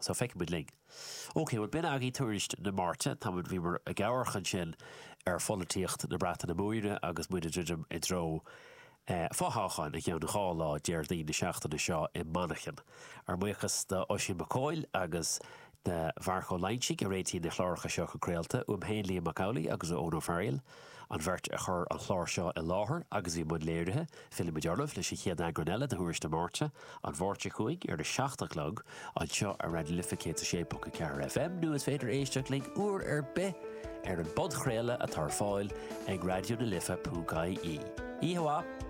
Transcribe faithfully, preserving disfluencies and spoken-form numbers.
So feicfimid linn. Ok, well b'in agaibh tuairisc na Máirte tá bhíomar ag amharc ansin ar pholaitíocht na Breataine Móire agus muid ag druidim i dtreo eh, fothoghcháin i gceann dhá lá Déardaoin na seachtaine seo i Manchain. Ár mbuíochas do Oisín Mac Cóil agus do Mharc Ó Loingsigh a réitigh na cláracha seo chun craolta uaim féin Liam Mac Amhlaigh agus ó Eoin Ó Fearghail, an bheirt a chur an chlár seo i láthair agus i mbun léirithe, fillfimid oraibh leis an chéad eagrán eile de Thuairisc na Máirte an Mháirt seo chugainn ar a seacht a chlog anseo ar Raidió na Life céad a sé ponc a ceathair FM nó is féidir éisteacht linn uair ar bith ar an bpodchraoladh atá ar fáil ag Raidió na Life ponc IE. Oíche mhaith!